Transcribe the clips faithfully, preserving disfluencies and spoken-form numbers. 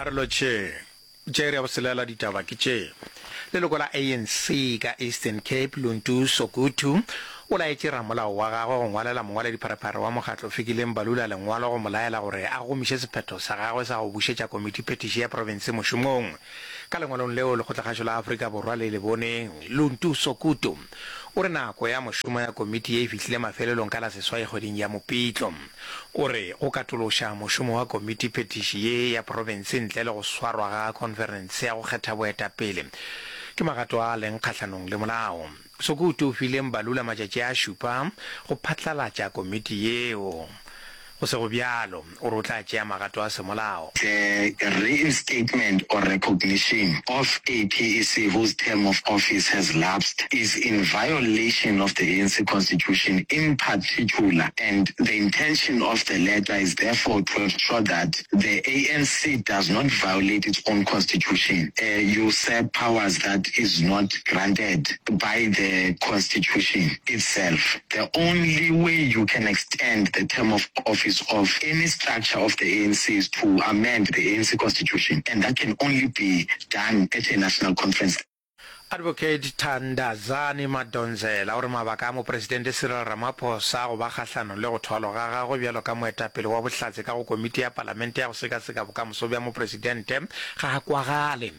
A re lotšheng. Tša iri ya boselela ditaba ke tše. Leloko la A N C ka Eastern Cape, Luntu Sokutu, o laetše ramolao wa gagwe go ngwalela mongwaledipharephare wa mokgatlo Fikile Mbalula lengwalo go mo laela gore a gomiše sephetho sa gagwe sa go bušetša komitiphethiši ya profense mošomong. Ka lengwalong leo Lekgotlakgašo la Afrika Borwa le le boneng, Luntu Sokutu o re nako ya mošomo ya komiti ye e fihlile mafelelong ka la seswai kgweding ya Mopitlo. O re go katološa mošomo wa komitiphethiši ye ya profense ntle le go swarwa ga khonferense ya go kgetha boetapele ke magato a leng kgahlanong le molao. Sokutu o file Mbalula matšatši a šupa go phatlalatša komiti yeo. Go sego bjalo, o re o tla tšea magato a semolao. The reinstatement or recognition of a P E C whose term of office has lapsed is in violation of the A N C Constitution in particular, and the intention of the letter is therefore to ensure that the A N C does not violate its own constitution, uh, usurp powers that is not granted by the constitution itself. The only way you can extend the term of office of any structure of the A N C is to amend the A N C constitution, and that can only be done at a national conference. Advocate Thandazani Madonsela o re mabaka a Mopresidente Cyril Ramaphosa go ba kgahlanong le go thwalwa ga gagwe bjalo ka moetapele wa bohlatse ka go komiti ya palamente ya go sekaseka bokamoso bja mopresidente ga a kwagale.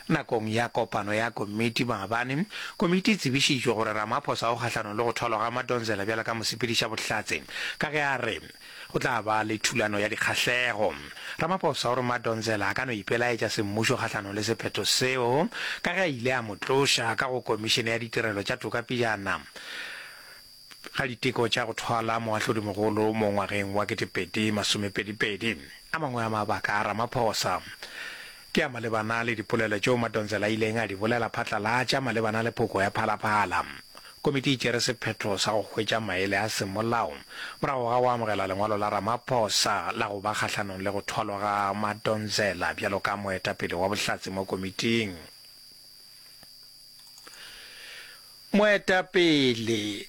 Nakong ya kopano ya komiti maabane, komiti e tsebišitšwe gore Ramaphosa o kgahlanong le go thwalwa ga Madonsela bjalo ka mosepediša bohlatse ka ge a re go tla ba le thulano ya dikgahlego. Ramaphosa o re Madonsela a ka no ipelaetša semmušo kgahlanong le sephetho seo ka ge a ile a mo tloša ka go komišene ya ditirelo tša toka pejana ga diteko tša go thwala moahlodimogolo mo ngwageng wa ketepedi masomepedipedi. A mangwe a mabaka a Ramaphosa ke a malebana le dipolelo tšeo Madonsela a ileng a di bolela phatlalatša malebana le phoko ya Phalaphala. Komiti e tšere sephetho sa go hwetša maele a semolao morago ga go amogela lengwalo la Ramaphosa la go ba kgahlanong le go thwalwa ga Madonsela bjalo ka moetapele wa bohlatse mo komiting. Moetapele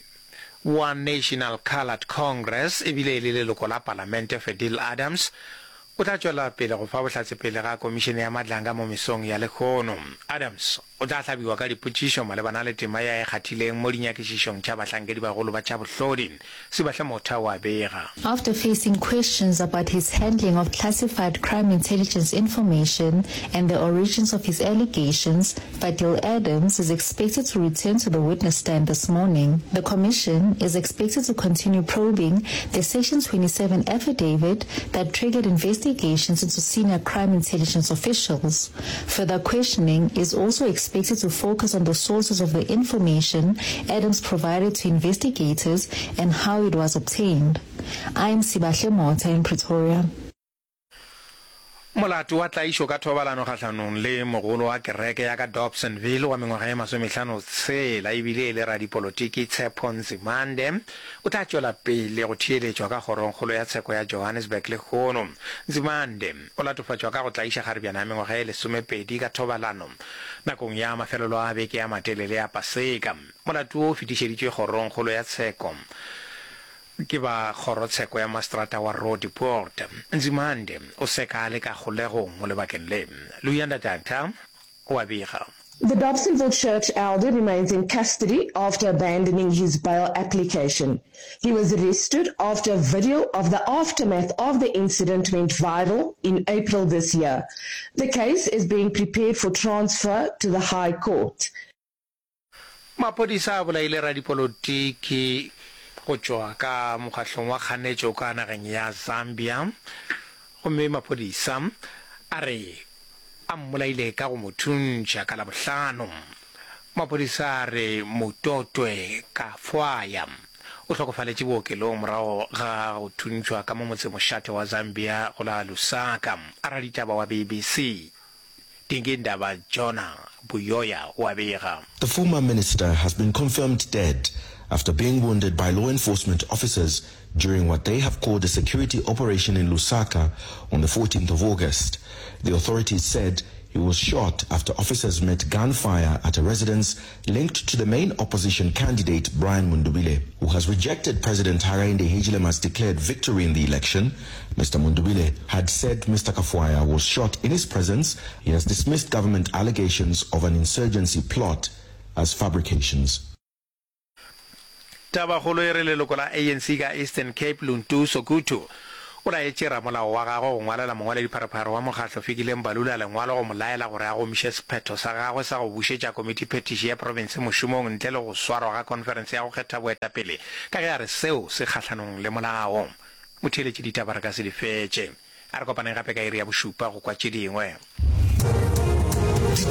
wa National Coloured Congress ebile e le leloko la palamente Fadiel Adams o tla tšwela pele go fa bohlatse pele ga komišene ya Madlanga mo mesong ya lehono. Adams o tla hlabiwa ka dipotšišo malebana le tema ya e kgathileng mo dinyakišišong tša bahlankedi bagolo ba tša bohlodi. Sibahle Motha wa bega. After facing questions about his handling of classified crime intelligence information and the origins of his allegations, Fadiel Adams is expected to return to the witness stand this morning. The commission is expected to continue probing the Section twenty-seven affidavit that triggered investigations into senior crime intelligence officials. Further questioning is also expected to focus on the sources of the information Adams provided to investigators and how it was obtained. I'm Sibahle Motha in Pretoria. Molato wa tlaišo ka thobalano kgahlanong le mogolo wa kereke ya ka Dobsonville wa mengwaga ye masomehlano tshela ebile e le radipolotiki Tshepo Nzimande o tla tšwela pele go theeletšwa ka kgorongkgolo ya tsheko ya Johannesburg lehono. Nzimande o latofatšwa ka go tlaiša kgarebjana ya mengwaga ye lesomepedi ka thobalano nakong ya mafelelo a beke ya matelele ya Paseka. Molato wo o fetišeditšwe kgorongkgolo ya tsheko ke ba kgorotsheko ya maseterata wa Roodepoort. Nzimande o seka a le ka kgolegong mo lebakeng le. Luyanda Tata o a bega. The Dobsonville church elder remains in custody after abandoning his bail application. He was arrested after a video of the aftermath of the incident went viral in April this year. The case is being prepared for transfer to the High Court. Maphodisa a bolaile radipolotiki go tšwa ka mokgahlong wa kganetšo ka nageng ya Zambia, gomme maphodisa a re a mmolaile ka go mo thuntšha ka Labohlano. Maphodisa a re Mutotwe Kafwaya o hlokofaletše bookelong morago ga go thuntšhwa ka mo motsemošate wa Zambia go la Lusaka. A raditaba wa B B C Dingindaba Jonah Buyoya o a bega. The former minister has been confirmed dead after being wounded by law enforcement officers during what they have called a security operation in Lusaka on the fourteenth of August. The authorities said He was shot after officers met gunfire at a residence linked to the main opposition candidate, Brian Mundubile, who has rejected President Hakainde Hichilema's declared victory in the election. Mr. Mundubile had said Mr. Kafwaya was shot in his presence. He has dismissed government allegations of an insurgency plot as fabrications. Tabakgolo e re leloko la ANC ka Eastern Cape Luntu Sokutu o laetše ramolao wa gagwe go ngwalela mongwaledipharephare wa mokgatlo Fikile Mbalula lengwalo go mo laela gore a gomiše sephetho sa gagwe sa go bušetša komitiphethiši ya profense mošomong ntle le go swarwa ga khonferense ya go kgetha boetapele ka ge a re seo se kgahlanong le molao. Motheeletši ditaba re ka se di fetše. A re kopaneng gape ka iri ya bošupa go kwa tše dingwe.